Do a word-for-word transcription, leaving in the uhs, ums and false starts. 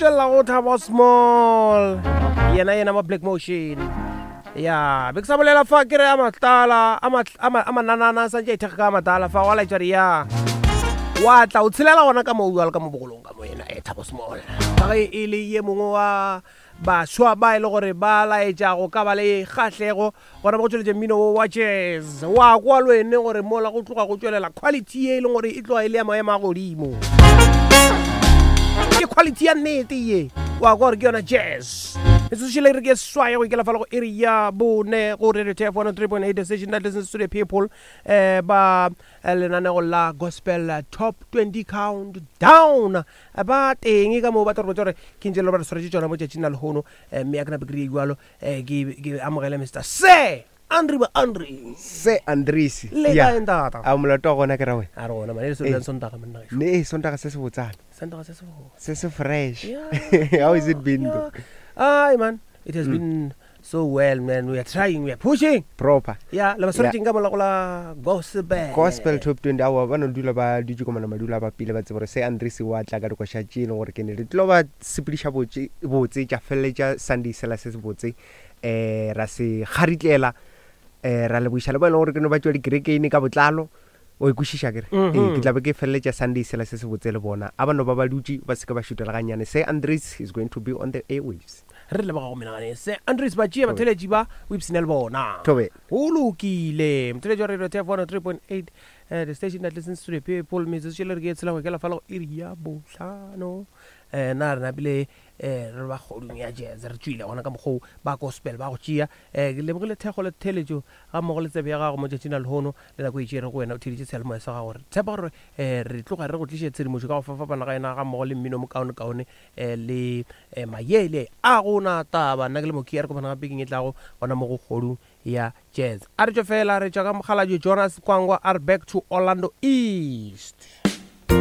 tšwelela go Thabo Small yena yena ma Black Motion ya be ke sa bolela fa ke re a matala a mananana santse a ithekga ka matala fa wa laetša re ya wa tla o tshelela gona ka moo jalo ka mo bogolong ka mo yena e Thabo Small ka ge e le ye mongwe wa baswa ba e le gore ba laetša go ka ba le kgahlego gona ba go tšweletša mmino wo wa jazz wa kwa le wene gore mola go tloga go tšwelela quality ye e leng gore e tloga e le ya maemo a godimo ke quality ya nnete ye wa kwa gore ke yona jazz metsotso re ke swaye go ikela fala go iri ya bone go Radio T F one oh three point eight the station that listens to the people eh ba lenanego la gospel top twenty count down ba teng ka moo ba tla re botsa gore ke ntse le ba re swaretše tšona mo tšatšing la lehono mme ya ke nape ke rie jalo ke amogele Mister Sir Andre ba Andre Se Andrisi le kae ntata a molato wa gona ke ra wena a re gona mane le se le sontaga monna gešo ne sontaga se se botsana sontaga se se botsa se se fresh. How is it been though? Ai man, it has mm. been so well man, we are trying, we are pushing proper. Yeah, le ba swaretseng ka mola go la gospel gospel top twenty awa ba no dula ba dutše komana madula ba pele ba tsebe gore se Andrisi wa tla ka dikoša tše e leng gore ke ne re tlo ba sepediša botse botse tša feleletša Sunday sela se se botse eh ra se kgaritlela eh ra leboiša le ba e leng gore ke no ba tšwa dikerekeng ka botlalo o ikwešiša kere ee ke tla be ke feleletša Sunday sela se se botse le bona a ba no ba ba dutše ba se ke ba šutela gannyane. Se Andres is going to be on the airwaves. Re leboga go menagane Se Andres ba tšea batheletši ba o ipshine le bona Thobe go lokile motheletši wa Radio T F one oh three point eight uh, the station that listens to the people metsotso le re ke e tshela go ikela fala go iri ya bohlano eh na re napile eh re ba kgodung ya jazz re tšwile gona ka mokgoo ba gospel ba go tšea eh ke lebogile thekgo le theletšo ga mmogo le tsebe ya gago mo tšatšing la lehono le nako e tšere go wena o theeditše seyalemoya sa gago re tshepa gore eh re tloga re go tliše tshedimošo ka go fapafapana ga yona ga mmogo le mmino mokaonekaone eh le eh, mayele a gona taba nna ke le mokia re kopana gape keng e tlago gona mo go kgodung ya jazz a re tšwe fela re tšwa ka mokgalabje Jonas Kwangwa a re back to Orlando East.